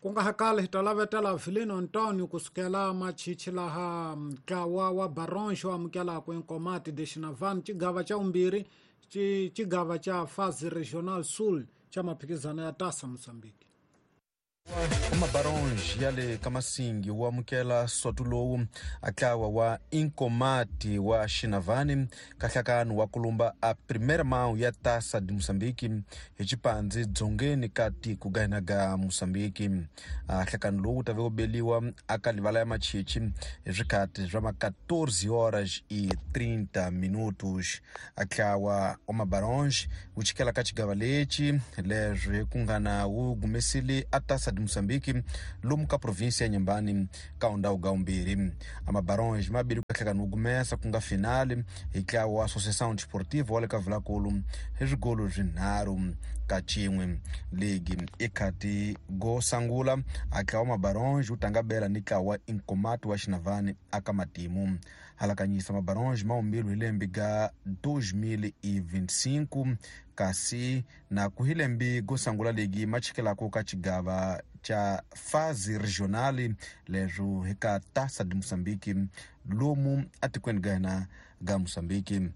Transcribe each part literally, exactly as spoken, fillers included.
Ku nga hakali hi ta lavetela Vilino Antonio kusukela machichi laha ntlawa wa Baronge wu amukelaka Inkomati de Xinavane xigava xa vumbirhi xigava xa Fase Regional Sul xa maphikizano ya Taça Moçambique. Mabaronge ya le ka Masingi wu amukela soto lowu a ntlawa wa Inkomati wa Xinavane ka nhlakano wa kulumba a primeira mão ya Taça de Moçambique hi xipandzi dzongeni ka tiko ga hina ga Moçambique. A nhlakano lowu wu ta ve wu beliwa aka livala ya machichi hi swikhati swa ma quatorze horas e trinta minutos. A ntlawa wa Mabaronge wu chikela ka xigava lexi leswi ku nga na wu humesile a Taça de Moçambique lomu ka província ya Inhambane ka undawu ga vumbirhi. A Mabaronge ma bile ku hlekana wu gumesa ku nga finale hi ntlawa wa Associação Desportiva wa le ka Vilankulu hi swigolo swinharhu ka xin'we. Ligi i khati go sangula a ntlawa wa Mabaronge wu tanga bela ni ntlawa wa Inkomati wa Xinavane aka matimu. Halakanyisa Mabaronge ma humbilu hi lembe ga dois mil e vinte e cinco kasi na ku hi lembe go sangula ligi ma chikelaka ka xigava xa fase regional leswo hi ka Taça de Moçambique lomu atikweni ga hina ga Moçambique.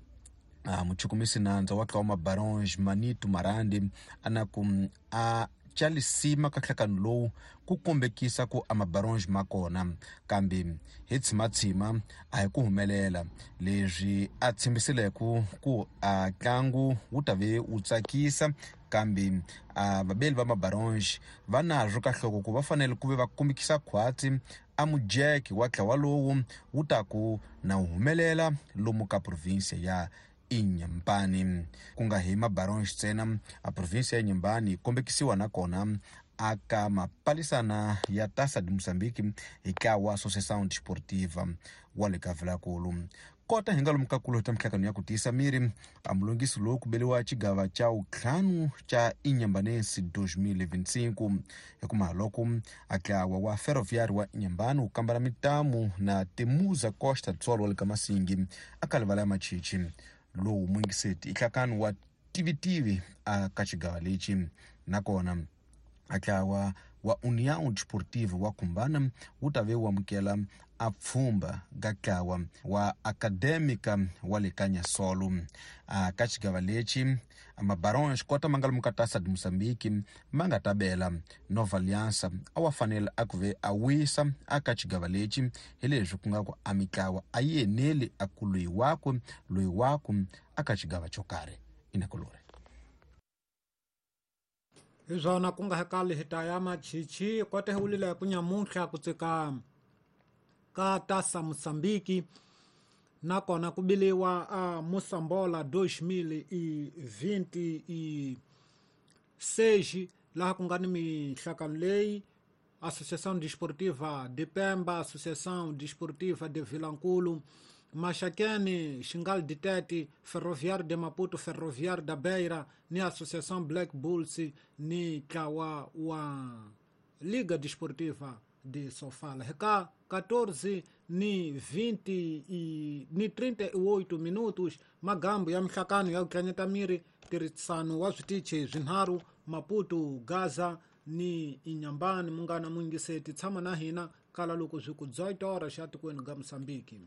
A muchukumisi nandza wa ntlawa wa Mabaronge Manito Marandi a na ku a chalisima ka nhlakano lowu ku kombekisa ku a Mabaronge ma kona kambe hi tshimatshima a hi ku humelela leswi a tshembisileke ku a ntlangu wu ta ve wu tsakisa kambe a vabeli va Mabaronge va nazwo ka nhloko ku va fanele ku ve va kombekisa khwatsi a mujeke wa ntlawa lowu wu ta ku na wu humelela lomu ka província ya Inhambane. Ku nga hi Mabaronge ntsena a província ya Inhambane yi kombekisiwa nakona aka mapalisana ya Taça de Moçambique hi ntlawa wa Associação Desportiva wa le ka Vilankulu. Kota hi nga lomu ka kulu ta mihlangano ya ku tiyisa miri a mulungisi lowu ku beliwa xigava xa vutlhanu xa Inhambanense dois mil e vinte e cinco hi ku mahaloko a ntlawa wa Ferroviário wa Inhambane wu kambela mitamu na Temuza Costa do Sol wa le ka Masingi aka livala ya machichi lowu muingiseti i nhlakano wa tivitivi a ka xigava lexi. Nakona a ntlawa wa União Desportiva wa Khumbana wu ta ve wu amukela a pfhumba ga ntlawa wa Acadêmica wa le ka Nyasolo. A ka xigava lexi Mabaronge kota ma nga lomu ka Taça de Moçambique ma nga ta bela Nova Aliança a wa fanele a ku ve a wisa a ka xigava lexi hi leswi ku nga ku a mitlawa a yi eneli a ku loyi wakwe loyi wakwe a ka xigava xo karhi inakulori. Hi swona ku nga hakali hi ta ya machichi kota hi wulile ku nyamuntlha ku tsika ka Taça Moçambique nakona ku biliwa a Moçambola dois mil e vinte e seis laha ku nga ni mihlakano leyi Associação Desportiva de Pemba, Associação Desportiva de Vilankulu, Maxaquene, Xingal de Tete, Ferroviário de Maputo, Ferroviário da Beira, ni Associação Black Bulls, ni ntlawa wa Liga Desportiva de Sofala. Reka quatorze ni vinte e ni trinta e oito minutos magambo ya mihlakano ya ku tlanyeta miri tirhisano wa switichi swinharhu Maputo, Gaza ni Inhambane. Munghana muingiseti tshama na hina kala loko swi ku dezoito horas xa tikweni ga Moçambique.